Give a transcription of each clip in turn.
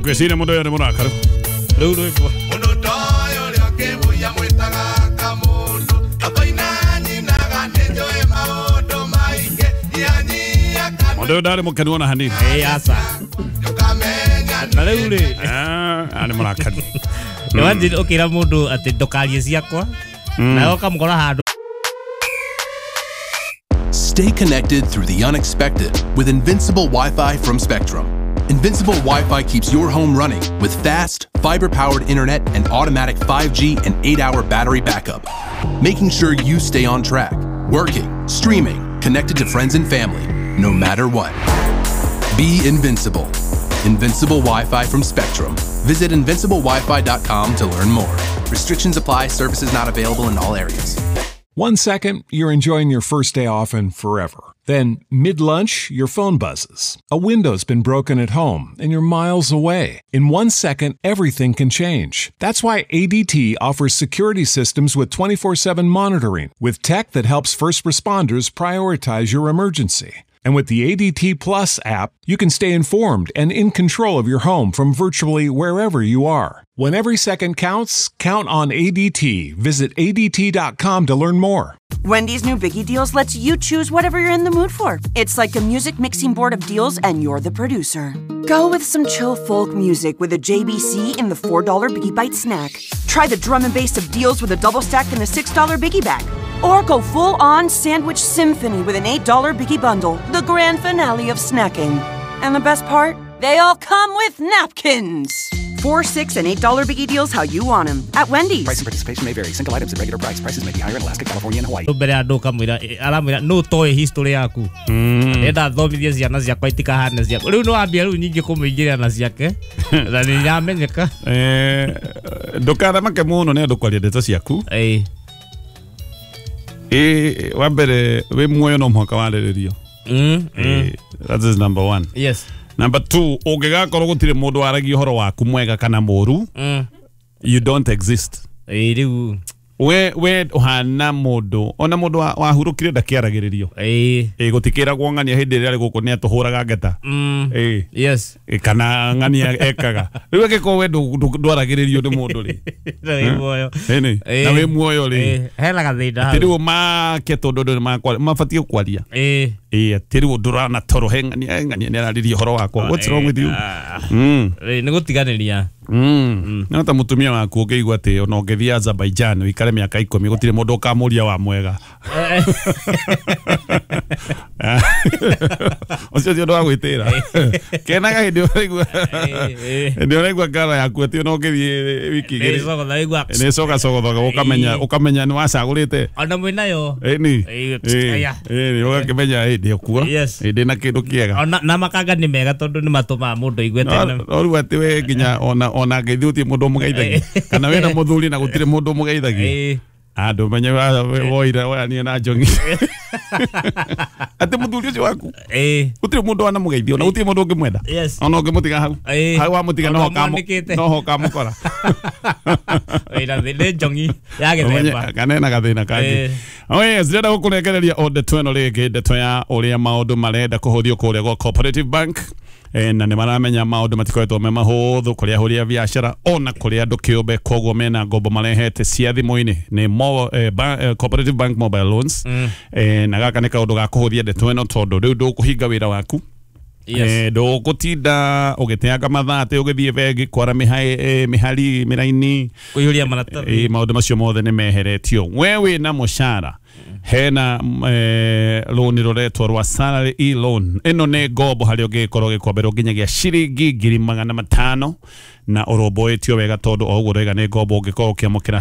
Ngwĩciria mũndũ ũyũ nĩ mũrakaru. Rĩu rwĩmbo. Mũndũ ta ũyũ ũrĩa ũkĩmũiya mwĩtaga kamũndũ. Akoina nyinaga nĩnjũĩ maũndũ maingĩ. Nyihanyihia kanua. Mũndũ ũyũ ndarĩ mũkenu ona hanini. Ĩĩ aca. Ndũkamenya Na rĩu rĩ. Arĩ mũrakaru. Imagine ũkĩra mũndũ atĩ ndũkarie ciakwa. Nawe ũkamũkora handũ. Stay connected through the unexpected with Invincible Wi-Fi from Spectrum. Invincible Wi-Fi keeps your home running with fast, fiber-powered internet and automatic 5G and 8-hour battery backup, making sure you stay on track, working, streaming, connected to friends and family, no matter what. Be invincible. Invincible Wi-Fi from Spectrum. Visit invinciblewifi.com to learn more. Restrictions apply. Services not available in all areas. 1 second, you're enjoying your first day off and forever. Then, mid-lunch, your phone buzzes. A window's been broken at home, and you're miles away. In 1 second, everything can change. That's why ADT offers security systems with 24/7 monitoring, with tech that helps first responders prioritize your emergency. And with the ADT Plus app, you can stay informed and in control of your home from virtually wherever you are. When every second counts, count on ADT. Visit ADT.com to learn more. Wendy's new Biggie Deals lets you choose whatever you're in the mood for. It's like a music mixing board of deals, and you're the producer. Go with some chill folk music with a JBC in the $4 Biggie Bite snack. Try the drum and bass of deals with a double stack and the $6 Biggie Bag. Or go full-on sandwich symphony with an $8 Biggie Bundle, the grand finale of snacking. And the best part? They all come with napkins. $4, $6, and $8 Biggie Deals how you want them at Wendy's. Price and participation may vary. Single items at regular price. Prices may be higher in Alaska, California, and Hawaii. Mbere andũ ũkamwĩra aramwĩra nũ toĩ history yaku. Ndenda thomithie ciana ciakwa itikahane ciaku. Rĩu nĩ wambia rĩu nyingĩ kũmũingĩrĩra na ciake. Na nĩ iramenyeka. Ndũkaramake mũno nĩ andũ kwaria ndeto ciaku. Wa mbere wĩ muoyo no mũhaka warĩrĩrio. That is number one. Yes. Number two, ũngĩgakorwo gũtirĩ mũndũ waragia ũhoro waku mwega kana mũru, you don't exist. Rĩu we ũhana mũndũ ona mũndũ wahurũkire ndakĩaragĩrĩrio. Gũtikĩragwo ng'ania hĩndĩ ĩrĩa arĩ gũkũ nĩ atũhũraga ngeta. Yes. Kana ng'ania ekaga. Rĩu angĩkorwo we ndwaragĩrĩrio nĩ mũndũ rĩ. Na wĩ muoyo. Na wĩ muoyo rĩ. Hena gathĩna hau. Atĩ rĩu make tondũ andũ mabatiĩ kwaria. Atĩ rĩu ndũrana toro he ng'ania nĩ araririe ũhoro wakwa. What's wrong with you? Nĩ gũtiganĩria. No ta mũtumia waku ũngĩigua atĩ ona ũngĩthiĩ Azerbaijan ũikare mĩaka 10 gũtirĩ mũndũ ũkamũria wa mwega. Ũcio ti ũndũ wa gwĩtĩra. Kenaga hĩndĩ ũraigua. Hĩndĩ ũraigua ngara yaku atĩ ona ũngĩthiĩ wiki igĩrĩ. Nĩ cogacogothaga ũkamenya nĩ wacagũrĩte. Ona mwĩnayo. Ĩni. Ĩni ũgakĩmenya hĩndĩ ũkuo. Hĩndĩ na kĩndũ kĩega. Na makanga nĩ mega tondũ nĩ matũmaga mũndũ aigue tene. No rĩu atĩ we nginya ona ngeithi gũtirĩ mũndũ ũmũgeithagia. Kana wĩna mũthuri na gũtirĩ mũndũ ũmũgeithagia. Andũ menye woire woyanie na njongi. Atĩ mũthuri ũcio waku. Gũtirĩ mũndũ wanamũgeithia ona gũtirĩ mũndũ ũngĩmwenda. Ona ũngĩmũtiga hau. Hau wamũtiga no ho ũkamũkora. Wĩna nĩ njongi ya gĩthemba. Kana ena gathĩna kangĩ. Oh yes, ndĩrenda gũkũrekereria o ndeto ĩno rĩngĩ, ndeto ya ũrĩa maũndũ marenda kũhũthio kũrĩa gwa Cooperative Bank. Na nĩ maramenya maũndũ matikoretwo me mahũthũ kũrĩa ahũri a biacara ona kũrĩ andũ kĩũmbe, koguo mena ngombo marehete cia thimũ-inĩ nĩ Cooperative Bank Mobile Loans. Na gaka nĩ kaũndũ ga kũhũthia ndeto ĩno tondũ rĩu ndũkũhinga wĩra waku. Ndũgũtinda ũgĩteanga mathaa atĩ ũgĩthiĩ bengi kwara mĩhari mĩraini kũiyũria maratathi. Maũndũ macio mothe nĩ meheretio. We wĩna mũcara hena loan rũretwo rwa salary e-loan. Ĩno nĩ ngombo harĩa ũngĩkorwo ũgĩkomberwo nginyagia ciringi 500,000 na ũrũmbũĩtio wega tondũ o ũguo ũroiga nĩ ngombo ũngĩkorwo ũkĩamũkĩra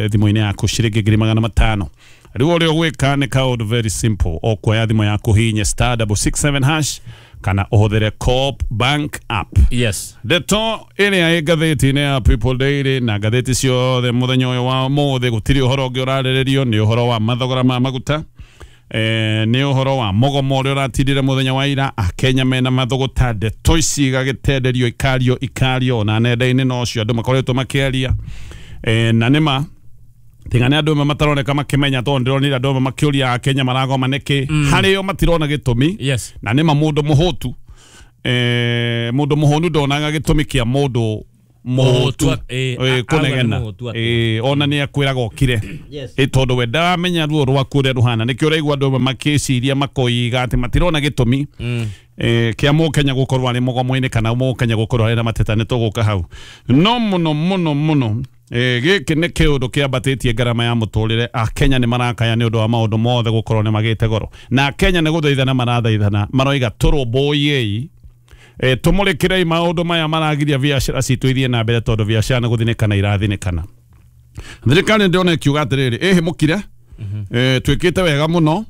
thimũ-inĩ yaku ciringi 500,000. Rĩu ũrĩa ũgwĩka nĩ kaũndũ very simple, ũkuoya thimũ yaku hihinye *667# kana ũhũthĩre Co-op Bank app. Yes. Ndeto ĩrĩa ĩ ngathĩti-inĩ ya People Daily na ngathĩti ciothe mũthenya ũyũ wa ũmũthĩ gũtirĩ ũhoro ũngĩ ũrarĩrĩrio, nĩ ũhoro wa mathogora ma maguta, nĩ ũhoro wa mũgomo ũrĩa ũratindire mũthenya wa ira. Akenya mena mathũgũta, ndeto ici igagĩtenderio ikario ona nenda-inĩ nocio andũ makoretwo makĩaria. Na nĩma tiga nĩ andũ amwe mataroneka makĩmenya tondũ ndĩronire andũ amwe makĩũria Akenya maragoma nĩkĩ harĩo matirona gĩtũmi. Yes. Na nĩma mũndũ mũhũtu Mundu muhunu ndonaga gitumi kia mundu muhutu kunegena ona ni akwiraga okire tondu we ndaramenya ruo rwaku uria ruhana nikio uraigua andu amwe makiciria makoiga ati matirona gitumi kia Mukenya gukorwo ari mugomo-ini kana Mukenya gukorwo ari na mateta ni tuguka hau no muno muno muno giki ni kiundu kiambatitie ngarama ya muturire. Akenya ni marakaya ni undu wa maundu mothe gukorwo ni magite goro na Akenya ni guthaithana marathaithana maroiga turumbuiei tumurikirei maundu maya maragiria biacara citu ithie na mbere tondu biacara ni guthinikana irathinikana. Thirikari ndirona ikiuga atiriri ihimukire twikite wega muno.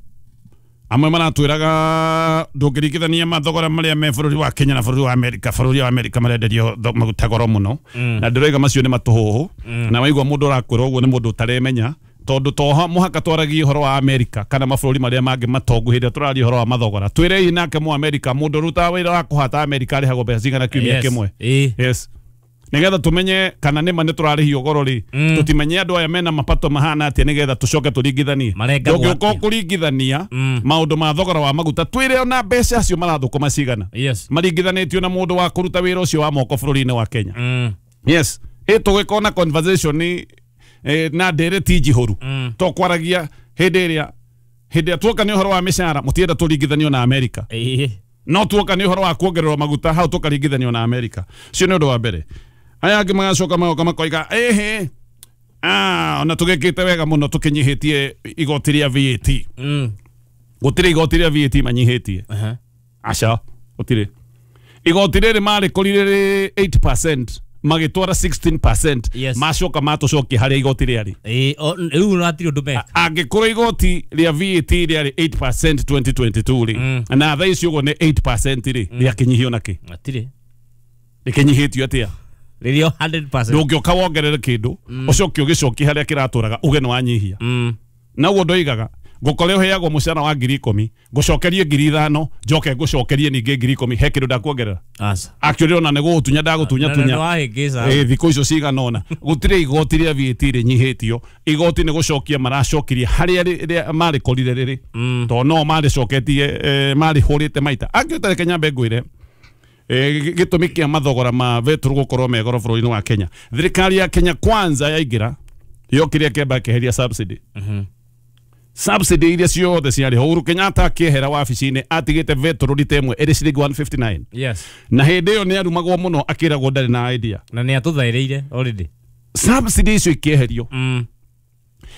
Amwe maratwiraga ndungirikithania mathogora maria me bururi wa Kenya na bururi wa Amerika. Bururi wa Amerika marenderio maguta goro muno na ndiroiga macio ni matuhuhu na waigua mundu urakwira uguo ni mundu utaremenya tondu to muhaka twaragie uhoro wa Amerika kana mabũrũri maria mangi matongu hindi tũraria uhoro wa mathogora. Twirei nake mu Amerika mundu rutaga wira wa kuhata Amerika arĩhagwo mbeca cigana kiumia kimwe. Yes, nigetha tumenye kana nĩma nĩ tũrarĩhio goro rĩ tũtimenye andũ aya mena mapato mahana atĩa nigetha tũcoke tũringithanie. Ndũngĩũka kũringithania maũndũ ma thogora wa maguta twĩre ona mbeca acio marathũkũma cigana maringithanĩtio na mũndũ wa kũruta wĩra ũcio wa moko bũrũri-inĩ wa Kenya. Yes, ĩtũgĩkona conversation na ndereti njihũru to kwaragia hĩndĩ ĩrĩa tuoka nĩ ũhoro wa mĩcara mũtienda tũringithanio na Amerika no tuoka nĩ ũhoro wa kuongererwo maguta hau tũkaringithanio na Amerika. Ũcio nĩ ũndũ wa mbere. Aya angĩ magacoka magoka makoiga ehe ona tũgĩkĩte wega mũno tũkĩnyihĩtie igoti rĩa VAT. Gũtirĩ igoti rĩa VAT manyihĩtie. Aca gũtirĩ. Igoti rĩrĩ marĩkorire rĩ 8% magĩtwara 16%. Macoka matũcokia harĩa igoti rĩarĩ. Rĩu hatirĩ ũndũ meka. Angĩkorwo igoti rĩa VAT rĩarĩ 8% 2022 rĩ na thaa ici ũguo nĩ 8% rĩ rĩakĩnyihio nakĩ? Hatirĩ. Rĩkĩnyihĩtio atĩa? Rĩrĩo 100%. Ndũngĩũka wongerere kĩndũ ũcoke ũgĩcokie harĩa kĩratũraga uge nĩ wanyihia. Na ũguo ndoigaga ngũkore ũheagwo mũcara wa 10,000 ngũcokerie 5,000 njoke ngũcokerie ningĩ 10,000 he kĩndũ ndakuongerera. Actually ona nĩ gũgũtunya ndagũtunya tunya thikũ icio cigana ũna gũtirĩ igoti rĩa VAT rĩnyihĩtio. Igoti nĩ gũcokia maracokirie harĩa marĩkorire rĩrĩ tondũ no marĩcoketie marĩhũrĩte maita. Angĩ reke nyambe ngwĩre gĩtũmi kĩa mathogora ma betũrũ gũkorwo me goro bũrũri-inĩ wa Kenya. Thirikari ya Kenya Kwanza yaingĩra yokire kĩamba kĩeheria subsidy. Subsidy iria ciothe ciarĩ ho Uhuru Kenyatta akĩehera wabici-inĩ atigĩte betũrũ rita ĩmwe ĩrĩ ciringi 159. Yes. Na hĩndĩ ĩyo nĩ arumagwo mũno akĩragwo ndarĩ na idea. Na nĩ atũthaĩrĩire already. Subsidy icio ikĩeherio.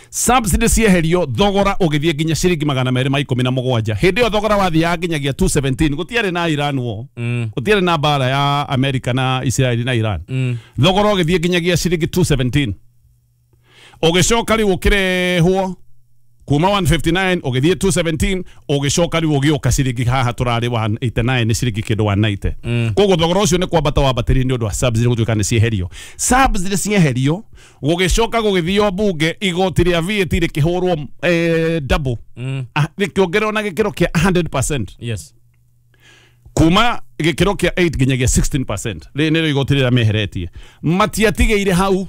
Subsidy cieherio thogora ũgĩthiĩ nginya ciringi 217. Hĩndĩ ĩyo thogora wathiaga nginyagia 217. Gũtiarĩ na Iran war. Gũtiarĩ na mbara ya Amerika na Israel na Iran. Thogora ũgĩthiĩ nginyagia ciringi 217. Ũgĩcoka rĩu ũkĩrehwo kuma 159 ũgĩthiĩ 217 ũgĩcoka rĩu ũgĩũka ciringi haha tũrarĩ 189 nĩ ciringi kĩndũ 190. Koguo thogora ũcio nĩ kwambata wambatĩrire nĩ ũndũ wa subsidy gũtuĩka nĩ cieherio. Subsidy cieherio gũgĩcoka gũgĩthio mbunge igoti rĩa VAT rĩkĩhũrwo double rĩkĩongererwo na gĩkĩro kĩa 100%. Yes. Kuma gĩkĩro kĩa 8 nginyagia 16%. Rĩrĩ nĩrĩo igoti rĩrĩa meheretie. Matiatigĩire hau.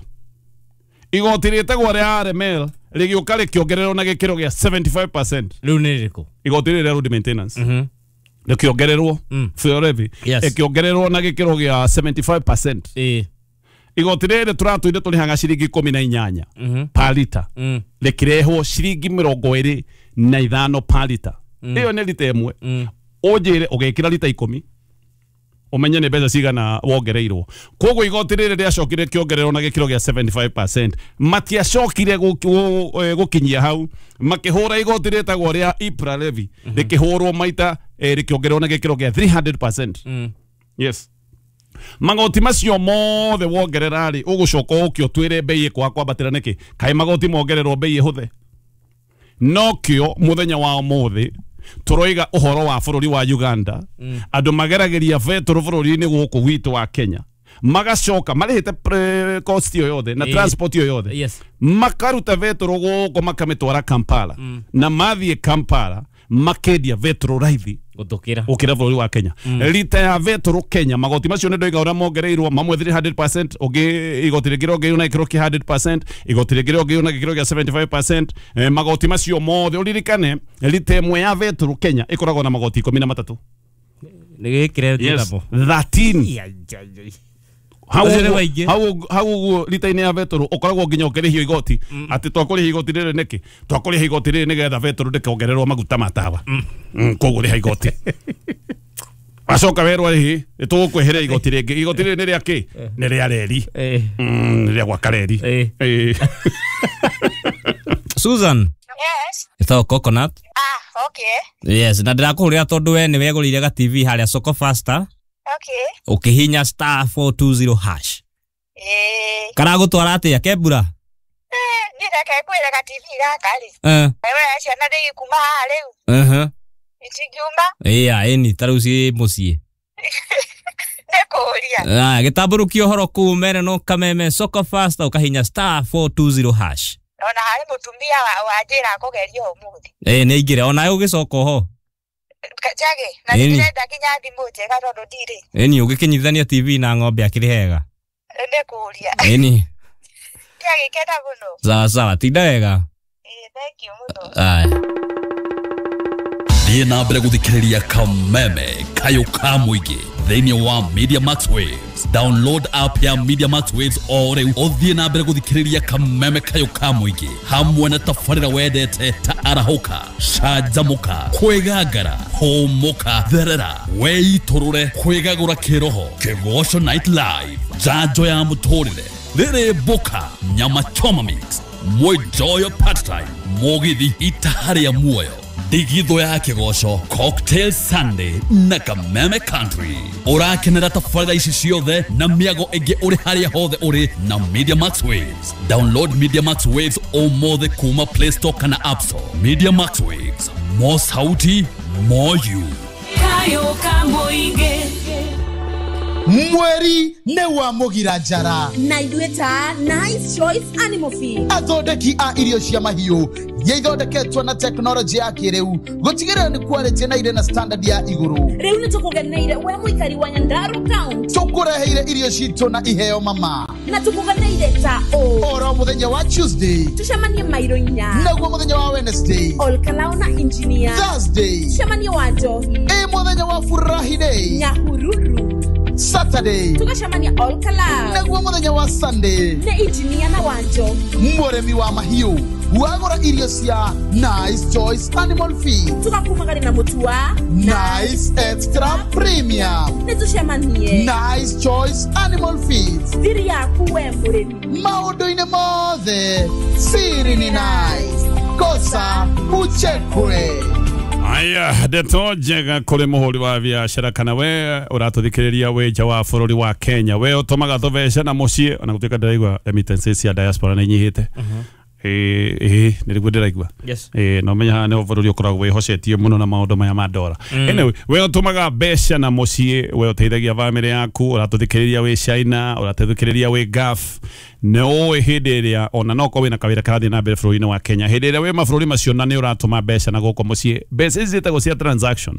Igoti rĩtagwo rĩa RML rĩgĩũka rĩkĩongererwo na gĩkĩro gĩa 75%. Rĩu nĩ rĩrĩkũ? Igoti rĩrĩ rĩa road maintenance. Rĩkĩongererwo fuel levy ĩkĩongererwo na gĩkĩro gĩa 75%. Igoti rĩrĩ tũratũire tũrĩhaga ciringi 18 per lita. Rĩkĩrehwo ciringi 25 per lita. Ĩyo nĩ lita ĩmwe. Ũnjĩre ũgĩkĩra lita 10 umenye nĩ mbeca cigana wongereirwo. Koguo igoti rĩrĩ rĩacokire rĩkĩongererwo na gĩkĩro gĩa 75%. Matiacokire gũkinyia hau makĩhũra igoti rĩtagwo rĩa EPRA levy rĩkĩhũrwo maita rĩkĩongererwo na gĩkĩro gĩa 300%. Yes. Magoti macio mothe wongerera rĩ ũgũcoka ũke ũtwĩre bei ĩkwaga kwambatĩra nĩkĩ? Kaĩ magoti mongererwo bei ĩhũthe? Nokĩo mũthenya wa ũmũthĩ tũroiga ũhoro wa bũrũri wa Uganda. Andũ mageragĩria betũrũ bũrũri-inĩ gũkũ gwitũ wa Kenya magacoka marĩhĩte cost ĩyo yothe na transport ĩyo yothe. Makaruta betũrũ gũkũ makamĩtwara Kampala na mathiĩ Kampala makendia betũrũ raithi gũtũkĩra gũkĩra bũrũri wa Kenya. Rita ya betũrũ Kenya magoti macio nĩ ndoiga ũrĩa mongereirwo mamwe 300%, ũngĩ igoti rĩngĩ rĩongereirwo na gĩkĩro kĩa 100%, igoti rĩngĩ rĩongereirwo na gĩkĩro kĩa 75%. Magoti macio mothe ũririkane rita ĩmwe ya betũrũ Kenya ĩkoragwo na magoti 13. Nĩ gĩkĩre Yes, namo. 13. Hau Acio nĩ ũguo- maingĩ. hau ũguo rita-inĩ ya betũrũ ũkoragwo nginya ũkĩrĩhio igoti atĩ twakũrĩha igoti rĩrĩ nĩkĩ twakũrĩha igoti rĩrĩ nĩgetha betũrũ ndĩkongererwo maguta ma tawa. Koguo rĩha igoti wacoka werwo rĩhĩ nĩtũgũkweheria igoti rĩngĩ igoti rĩrĩ nĩ rĩa kĩ nĩ rĩa reri. Nĩ rĩa gwaka reri. Susan. Yes. Ĩtagwo Coconut. Ah, okay. Yes, na ndĩrakũhũrĩra tondũ we nĩ wegũrĩire ga TV harĩa Soko Faster. Okay. Ũkĩhinya star 420 hash. Karagũtwara atĩa kembura? Niĩ reke ngwĩre ga TV gaka rĩ. Wewe ciana ndĩgĩkuma haha rĩu. Itingiuma. Ĩya, ĩni ta rĩu ciĩ mũciĩ. Nĩ kũũria. Aya, gĩtambũrũkia ũhoro kũu mere no kameme Soko Faster ũkahinya star 420 hash. Ona harĩ mũtumia wanjĩra kũgeria ũmũthĩ. Ĩ nĩ aingĩre onawe ũgĩcoka oho. Njage, na Ĩni. ndĩrenda nginya thimũ njega tondũ ndirĩ. Ĩni ũgĩkĩnyitithania TV na ng'ombe akĩrĩ hega. Nĩ kũũria. Ĩni. Ndiagĩkena mũno. Sawa sawa, tinda wega. Thank you mũno. Aya. Thiĩ na mbere gũthikĩrĩria kameme kayũ ka mũingĩ thĩinĩ wa Media Max Waves. Download app ya Media Max Waves o rĩu ũthiĩ na mbere gũthikĩrĩria kameme kayũ ka mũingĩ hamwe na tabarĩra wendete ta arahũka, canjamũka, kwĩgangara, hũmũka, therera, weitũrũre, kwĩgagũra kĩroho, kĩgoco night live, njanjo ya mũtũrĩre, rĩrĩ mboka, nyama choma mix, mwenjoyo part time, mũgithi itaha rĩa muoyo, ndigithũ ya kĩgoco, cocktail Sunday na kameme country. Ũrakenera tabarĩra ici ciothe na mĩago ĩngĩ ũrĩ harĩa hothe ũrĩ na Media Max Waves. Download Media Max Waves ũmũthĩ kuma Play Store kana App Store. Media Max Waves, more sauti, more you. Kayo kamũingĩ. Mweri nĩ wa mũgira njara na ithuĩ ta Nice Choice Animal Feed athondeki a irio cia mahiũ iria ithondeketwo na tekinoronjĩ ya kĩrĩu gũtigĩrĩra nĩ quality na irĩ na standard ya igũrũ. Rĩu nĩ tũkũgeneire we mũikari wa Nyandarua County. Tũkũreheire irio citũ na iheo mama na tũkũgeneire ta ũ oro mũthenya wa Tuesday tũcemanie mairo inya naguo mũthenya wa Wednesday Olkalao na engineer Thursday tũcemanie wa Njohi ĩ mũthenya wa Furahi Day Nyahururu Saturday tũgacemania Olkalao naguo mũthenya wa Sunday nĩ engineer na wa Njohi mũrĩmi wa mahiũ wagũra irio cia Nice Choice Animal Feed tũgakumagari na mũtu wa Nice Extra Premium nĩ tũcemanie Nice Choice Animal Feed thiri yaku we mũrĩmi maũndũ-inĩ mothe siri ni nice kosa uchekwe. Aya, ndeto njega kũrĩ mũhũri wa biacara kana we ũratũthikĩrĩria wĩ nja wa bũrũri wa Kenya we ũtũmaga tũbeca na mũciĩ ona gũtuĩka ndĩraigua remittances cia diaspora nĩ inyihĩte. Ĩ nĩ rĩguo ndĩraigua. Yes. Na ũmenye haha nĩho bũrũri ũkoragwo wĩhocetie mũno na maũndũ maya ma ndora. Anyway, we ũtũmaga mbeca na mũciĩ we ũteithagia bamĩrĩ yaku ũratũthikĩrĩria wĩ China ũratũthikĩrĩria wĩ Gulf nĩ ũĩ hĩndĩ ĩrĩa ona no korwo wĩna kawĩra karathiĩ na mbere bũrũri-inĩ wa Kenya hĩndĩ ĩrĩa wĩ mabũrũri macio na nĩ ũratũma mbeca na gũkũ mũciĩ mbeca ici ciĩtagwo cia transaction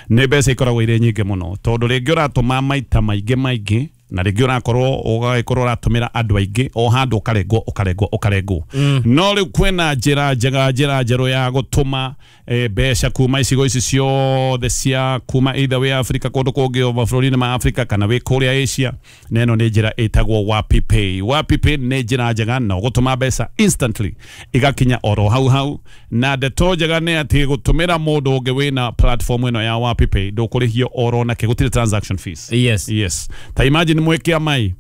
nĩ mbeca ikoragwo irĩ nyingĩ mũno tondũ rĩngĩ ũratũma maita maingĩ maingĩ na rĩngĩ ũrakorwo ũgagĩkorwo ũratũmĩra andũ aingĩ o handũ ũkarengwo ũkarengwo ũkarengwo. No rĩu kwĩna njĩra njega njĩra njerũ ya gũtũma mbeca kuma icigo ici ciothe cia kuma either wĩ Africa kũndũ kũngĩ o mabũrũri-inĩ ma Africa kana wĩ kũrĩa Asia na ĩno nĩ njĩra ĩtagwo Wapi Pay. Wapi Pay nĩ njĩra njega na ũgũtũma mbeca instantly igakinya oro hau hau na ndeto njega nĩ atĩ gũtũmĩra mũndũ ũngĩ wĩna platform ĩno ya Wapi Pay ndũkũrĩhio oro nakĩ gũtirĩ transaction fees. Yes. Yes. Ta imagine mwĩkĩa mai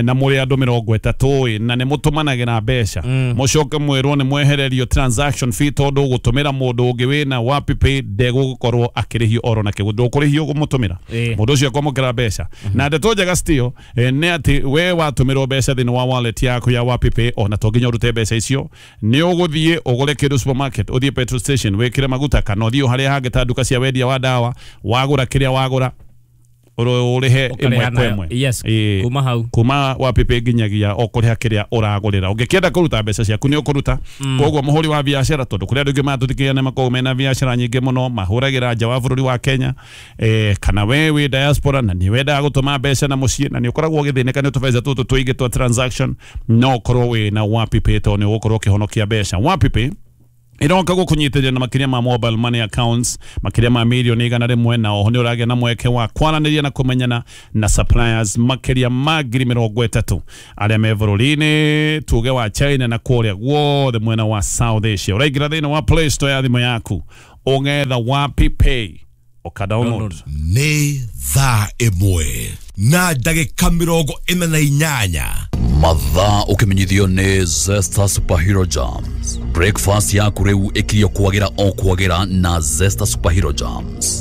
na mũrĩ andũ 30 ĩ na nĩ mũtũmanagĩra mbeca mũcoke mwĩrwo nĩ mwehererio transaction fee tondũ gũtũmĩra mũndũ ũngĩ wĩna Wapi Pay ndegũkorwo akĩrĩhio oro nakĩ ndũkũrĩhio kũmũtũmĩra mũndũ ũcio akwamũkĩra mbeca na ndeto njega still nĩ atĩ we watũmĩrwo mbeca thĩinĩ wa wallet yaku ya Wapi Pay ona to nginya ũrute mbeca icio nĩ ũgũthiĩ ũgũre kĩndũ supermarket ũthiĩ petrol station wĩkĩre maguta kana ũthiĩ o harĩa hangĩ ta nduka cia wendia wa ndawa wagũra kĩrĩa wagũra ũrĩhe ĩmwe kwa ĩmwe. Yes, kuma hau kuma Wapi Pay nginyagia o kũrĩha kĩrĩa ũragũrĩra ũngĩkĩenda kũruta mbeca ciaku nĩ ũkũruta. Koguo mũhũri wa biacara tondũ kũrĩ andũ aingĩ maratũthikĩrĩria nĩ makoragwo mena biacara nyingĩ mũno mahũragĩra nja wa bũrũri wa Kenya kana we wĩ diaspora na nĩ wendaga gũtũma mbeca na mũciĩ na nĩ ũkoragwo ũgĩthĩnĩka nĩ tũbeca tũtũ tũingĩ twa transaction no ũkorwo wĩna Wapi Pay tondũ nĩ ũgũkorwo ũkĩhonokia mbeca. Wapi Pay Iroka gũkũnyitĩrĩra na makĩria ma mobile money accounts makĩria ma mirioni 100, na oho nĩ ũragĩa na mweke wa kwaranĩria na kũmenyana na suppliers makĩria ma 30,000 arĩa me bũrũri-inĩ tuge wa China na kũrĩa guothe mwena wa South Asia. Ũraingĩra thĩinĩ wa Play Store ya thimũ yaku, ũgetha Wapi Pay, ũka download. Nĩ thaa 1:48. Mathaa ũkĩmenyithio nĩ Zesta Superhero Jams. Breakfast yaku rĩu ĩkirio kwagĩra o kwagĩra na Zesta Superhero Jams.